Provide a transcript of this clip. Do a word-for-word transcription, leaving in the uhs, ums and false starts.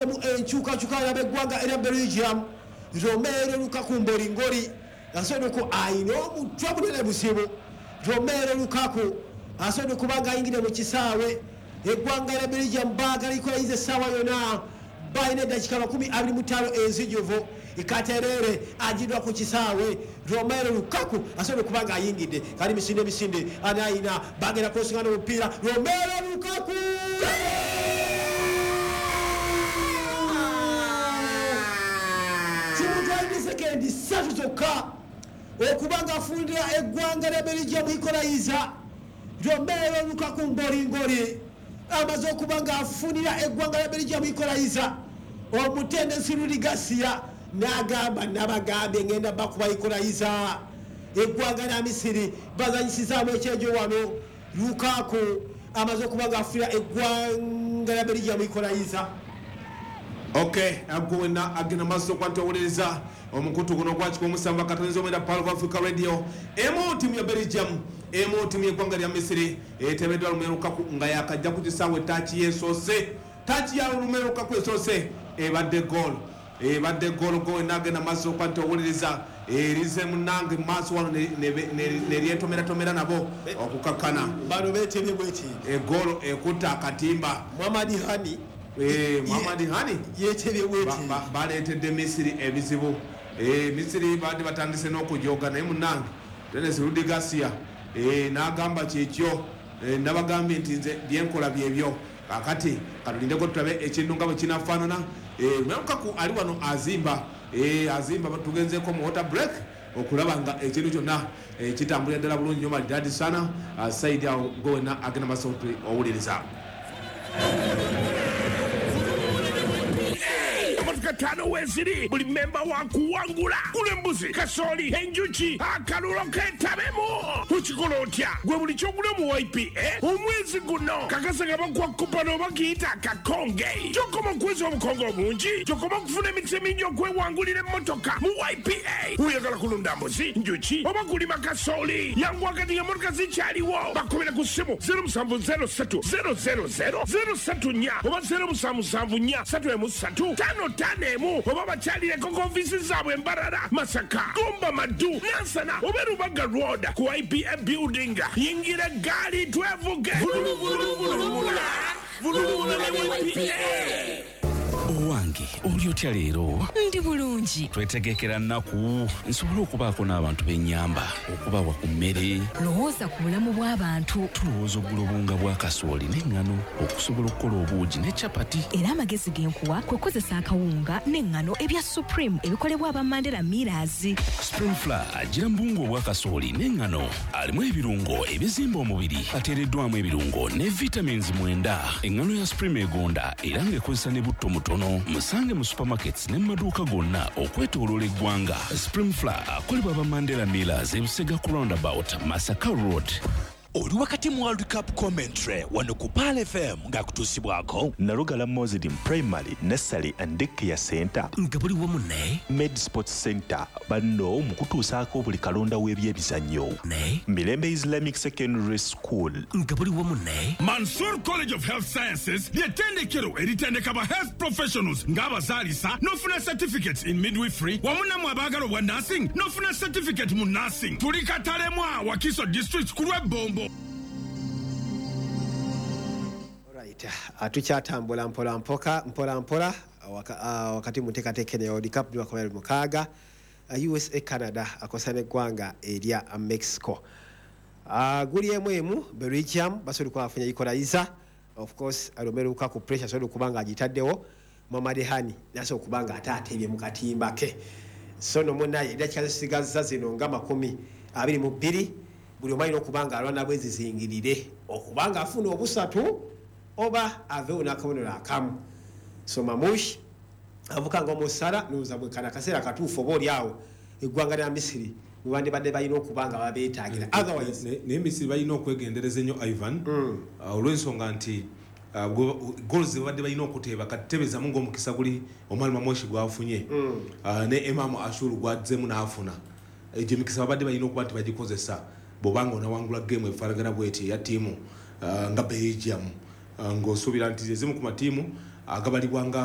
Enkyukakyuka y'abeggwanga erya Belgium, Romelu Lukaku mbolingoli asobola ayina omutwe munene buzibu. Romelu Lukaku asobola okuba nga ayingire mu kisaawe. Eggwanga lya Belgium baagala equalize essaawa yonna, balina eddakiika makumi abiri mu ttaano enzijuvu. Ikaterere agiddwa ku kisaawe. Romelu Lukaku asobola okuba nga ayingidde kali misinde misinde anayina bagenda kwesingana omupiira. Romelu Lukaku kimutwalidde sekendi ssatu zokka okuba nga afundira eggwanga lya Belgium equalizer. Romelu Lukaku mbolingoli amaze okuba nga afunira eggwanga lya Belgium equalizer. Omutendesi Rudi Garcia n'agamba, nabagambye ngenda bakuba equalizer. Eggwanga lya Misiri bazanyisizaamu ekyejo wano. Lukaku amaze okuba nga afunira eggwanga lya Belgium equalizer. Okay, agwe wenna agenda maaso okuba nti owuliriza omukutu guno ogwa kikumi musanvu akatonzi omwenda, Pearl of Africa Radio. Emu tiimu ya Belgium, emu tiimu y'eggwanga lya Misiri. Etebeddwa Romelu Lukaku nga yakajja ku kisaawe. Touch yesoose, touch ya Romelu Lukaku esoose ebadde goal, ebadde goal. Gwe wenna agenda maaso okuba nti owuliriza, erize munange mu maaso wano neryetomeratomera nabo okukakkana. Bano beetebye bweti. Egoolo ekutta akatimba. Muhammad Hani. Eh, Muhammad Hani. Yeetebye bweti. Baleetedde Misiri ebizibu. Eh, misiri badde batandise n'okujoga, naye munange Denis Rudi Garcia eh, n'agamba kyekyo, nabagambye nti nze byenkola byebyo. Kakati katulindeko tulabe ekintu nga bwe kinafaanana. Lukaku ali wano azimba, azimba. Tugenzeko mu water break okulaba nga ekintu kyonna kitambulira ddala bulungi nnyo, malidadi sana saidi awo. Gwe wenna agenda maaso owuliriza. Emotoka ttaano weeziri, buli memba wa kuwangula. Gula embuzi, kasooli, enjuki, akalulo ketabemu. Okikola otya? Gwe buli kyogula mu Y P A omwezi guno, kakasa nga bakuwa coupon oba kiyita akakonge. Kyokoma okuweza obukonge obungi, kyokoma okufuna emikisa emingi okwewangulira emmotoka mu Y P A. Oyagala kulunda mbuzi, njuki oba kulima kasooli, yangu kati emmotoka zikyaliwo. Bakubira ku ssimu zero seven zero three zero zero zero zero three four oba zero seven seven four three three five five one, oba bakyalireko ku ofiisi zaabwe Mbarara, Masaka, Gomba, Maddu, Nansana oba Rubaga Road ku Y P A building. Yingira eggaali twevuge. Vululuvuluvulula vululula ne Y P A. Owange, oli otya leero? Ndi bulungi. Twetegekera nnaku nsobole okubaako n'abantu b'ennyamba, okubawa ku mmere. Lowooza ku bulamu bw'abantu. Tulowooza okugula obuwunga bwa kasooli n'eŋŋano okusobola okukola obuugi ne capati. Era amagezi ge nkuwa kwe kukozesa akawunga n'eŋŋano ebya Supreme ebikolebwa aba Mandela Millers. Supreme Flour agira mu buwunga obwa kasooli n'eŋŋano, alimu ebirungo ebizimba omubiri, ateereddwamu ebirungo ne vitamins mwenda. Eŋŋano ya Supreme egonda era ng'ekozesa ne butto mutono. Musange mu supermarkets ne mu maduuka gonna okwetooloola eggwanga. Supreme Flour akolebwa aba Mandela Millers, Ebusega ku roundabout, Masaka Road. Oli wakati mu World Cup commentary wano ku Pearl F M ng'akutuusibwako Nalugala Muslim Primary Nursery and Daycare Center, nga buli wamu ne Med Sports Center, banno mu kutuusaako buli kalonda w'ebyemizannyo, ne Mirembe Islamic Secondary School, nga buli wamu ne Mansur College of Health Sciences, ly'ettendekero eritendeka ba health professionals ng'abazaalisa n'ofuna certificates in midwifery, wamu nammwe abaagala obwa nursing n'ofuna certificate mu nursing. Tuli Katalemwa, Wakiso District, ku lw'Ebbombo. Alright, ah, tukyatambula mpola mpoka mpola mpola waka, uh, wakati mu nteekateeka eno ya World Cup lwakumi mukaaga, uh, U S A, Canada akosa n'eggwanga erya Mexico. uh, guli emu emu. Belgium basobola okuba bafunye equalizer. Of course, Romelu Lukaku pressure asobola okuba nga agitaddewo. Mohamed Hani nasobola okuba nga ate atebye mu katimba ke. So no munaye, eddakiika zisigaza zino nga makumi abiri mu bbiri, buli omu alina okuba nga alwana bwezizingirire okuba nga afuna obusatu oba aveewo n'akabonero akamu. So Mamush avuka nga omusala noza bwekana akaseera katuufu, oba oli awo eggwanga lya Misiri mwebandibadde balina okuba nga babeetaagira, otherwise Ne- naye Misiri balina okwegendereza ennyo, Ivan, uh, olw'ensonga nti uh, goals zebadde balina okuteeba kati tebezamu ng'omukisa guli Omar Mamoshi gwafunye, uh, ne Emamu Ashuru gwazzemu n'afuna. Egyo emikisa babadde balina okuba nti bagikozesa. Bw'obanga onawangula game efaanagana bweti eya ttiimu uh, nga Belgium, uh, ng'osuubira nti ezimu ku matiimu Agabalibwa nga